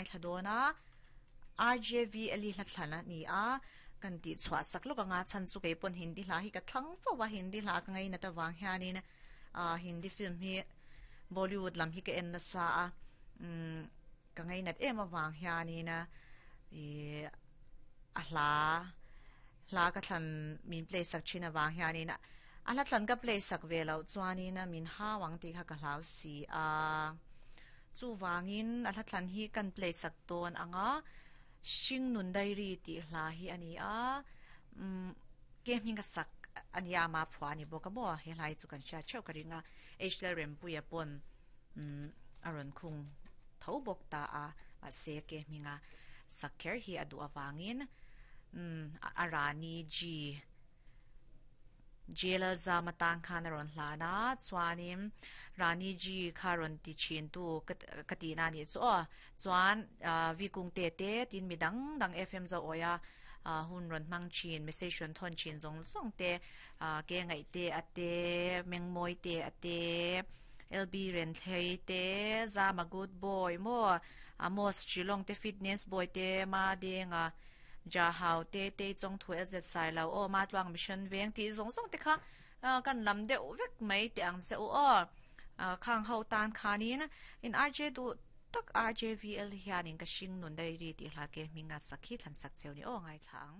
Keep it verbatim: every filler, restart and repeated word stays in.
ngai thla dawn a R J V L hla thlan a ni a kan ti chhuah sak lawk anga chan chu kei pawn Hindi hla hi ka thlang fo wa Hindi hla ka ngai na ta wang hianin a Hindi film hi Bollywood lam hi ka en na sa a um ka ngai nat em awang hianin a e a hla hla ka thlan min play sak thin awang hianin a hla thlan ka play sak ve lo chuanin a min hawang ti kha ka hlau si a chu wangin a hla thlan hi kan play sak ton anga Hring Nun Diary ti hla hi ani a um ke hming ka sak ania ma phua ni boka mo he lai chu kan sha cheu ka ringa H L Rempuia pon um aron khung tho bok ta a ma se ke hminga sakher hi adu awangin um arani g Jelal za matang khan ron hlana chuanin Rani G kha ron ti chin tu katina ni chu o chuan vi kung te te tin midang dang F M zo oya hun ron mang chin message ron thon chin zong zong te ke ngai te ate mengmoi te ate L B ren thlei te za ma good boy mo Amos Chilong te fitness boy te ma denga ja hau te te chong thu z sai lo o ma twang mission veng ti zong zong te kha kan lam de vek mai te ang se o khang ho tan khanin in R J du tak R J V L hianin ka Hring Nun Diary ti hla ke minga sakhi than sak cheu ni o ngai thang.